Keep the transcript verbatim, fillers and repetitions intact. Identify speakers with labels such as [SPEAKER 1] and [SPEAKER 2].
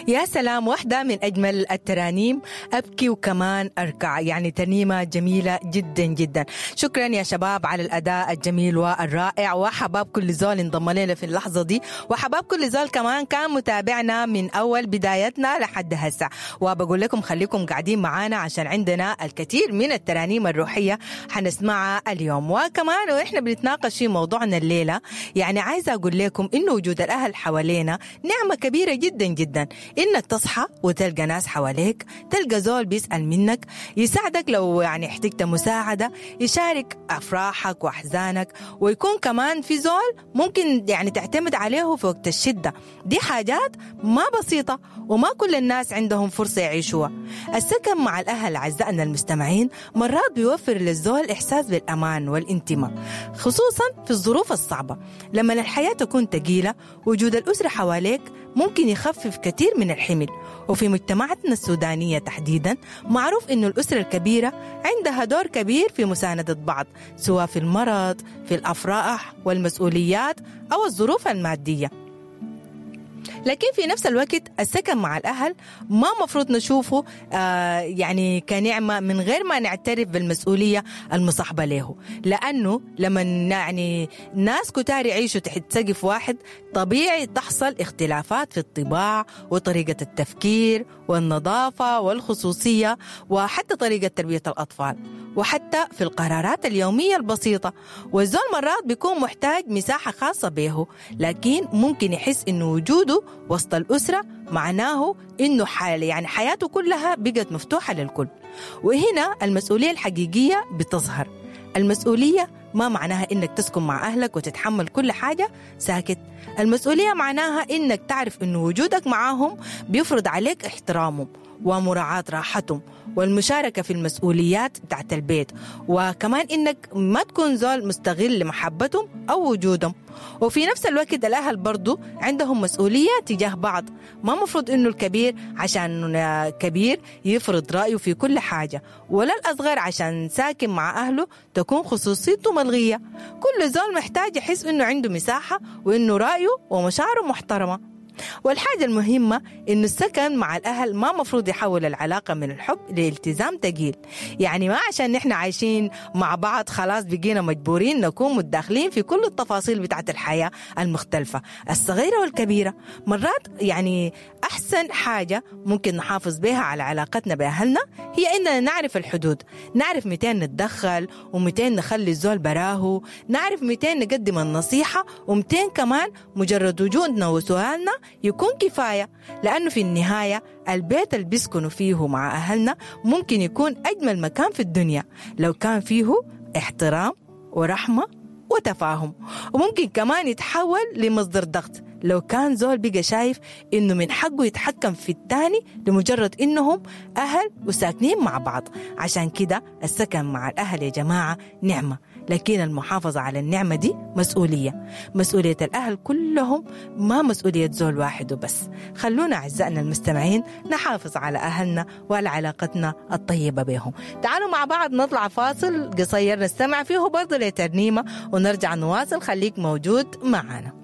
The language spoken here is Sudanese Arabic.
[SPEAKER 1] يا سلام، واحدة من أجمل الترانيم، أبكي وكمان أركع، يعني ترنيمة جميلة جدا جدا. شكرا يا شباب على الأداء الجميل والرائع، وحباب كل زول انضم لنا في اللحظة دي، وحباب كل زول كمان كان متابعنا من أول بدايتنا لحد هسه. وبقول لكم خليكم قاعدين معانا عشان عندنا الكثير من الترانيم الروحية حنسمعها اليوم. وكمان وإحنا بنتناقش في موضوعنا الليلة، يعني عايزة أقول لكم إنه وجود الأهل حوالينا نعمة كبيرة جدا جدا. إنك تصحى وتلقى ناس حواليك، تلقى زول بيسأل منك، يساعدك لو يعني احتجت مساعدة، يشارك أفراحك وأحزانك، ويكون كمان في زول ممكن يعني تعتمد عليه في وقت الشدة. دي حاجات ما بسيطة وما كل الناس عندهم فرصة يعيشوها. السكن مع الأهل أعزائنا المستمعين مرات بيوفر للزول إحساس بالأمان والانتماء، خصوصا في الظروف الصعبة. لما الحياة تكون تقيلة، وجود الأسرة حواليك ممكن يخفف كثير من الحمل. وفي مجتمعاتنا السودانية تحديدا معروف إنه الأسرة الكبيرة عندها دور كبير في مساندة بعض، سواء في المرض، في الأفراح والمسؤوليات أو الظروف المادية. لكن في نفس الوقت السكن مع الأهل ما مفروض نشوفه آه يعني كنعمة من غير ما نعترف بالمسؤولية المصاحبة له، لأنه لما يعني ناس كتار يعيشوا تحت سقف واحد طبيعي تحصل اختلافات في الطباع وطريقة التفكير والنظافة والخصوصية وحتى طريقة تربية الأطفال وحتى في القرارات اليومية البسيطة. والزول مرات بيكون محتاج مساحة خاصة به، لكن ممكن يحس إنه وجوده وسط الأسرة معناه إنه حال يعني حياته كلها بقت مفتوحة للكل. وهنا المسؤولية الحقيقية بتظهر. المسؤولية ما معناها إنك تسكن مع أهلك وتتحمل كل حاجة ساكت. المسؤولية معناها إنك تعرف إنه وجودك معاهم بيفرض عليك احترامهم ومراعاة راحتهم والمشاركة في المسؤوليات بتاعت البيت، وكمان إنك ما تكون زول مستغل لمحبتهم أو وجودهم. وفي نفس الوقت الأهل برضو عندهم مسؤولية تجاه بعض. ما مفروض إنه الكبير عشان كبير يفرض رأيه في كل حاجة، ولا الأصغر عشان ساكن مع أهله تكون خصوصيته ملغية. كل زول محتاج يحس إنه عنده مساحة وإنه رأيه ومشاعره محترمة. والحاجة المهمة إنه السكن مع الأهل ما مفروض يحول العلاقة من الحب لالتزام تقيل. يعني ما عشان نحن عايشين مع بعض خلاص بقينا مجبورين نكون متداخلين في كل التفاصيل بتاعت الحياة المختلفة الصغيرة والكبيرة. مرات يعني أحسن حاجة ممكن نحافظ بها على علاقتنا بأهلنا هي إننا نعرف الحدود، نعرف متين نتدخل ومتين نخلي الزول براه، نعرف متين نقدم النصيحة ومتين كمان مجرد وجودنا وسؤالنا يكون كفاية. لأنه في النهاية البيت اللي بيسكنوا فيه مع أهلنا ممكن يكون أجمل مكان في الدنيا لو كان فيه احترام ورحمة وتفاهم، وممكن كمان يتحول لمصدر ضغط لو كان زول بقى شايف إنه من حقه يتحكم في التاني لمجرد إنهم أهل وساكنين مع بعض. عشان كده السكن مع الأهل يا جماعة نعمة، لكن المحافظة على النعمة دي مسؤولية. مسؤولية الأهل كلهم، ما مسؤولية زول واحد وبس. خلونا أعزائنا المستمعين نحافظ على أهلنا وعلى علاقتنا الطيبة بهم. تعالوا مع بعض نطلع فاصل قصير نستمع فيه برضه لترنيمة ونرجع نواصل. خليك موجود معنا.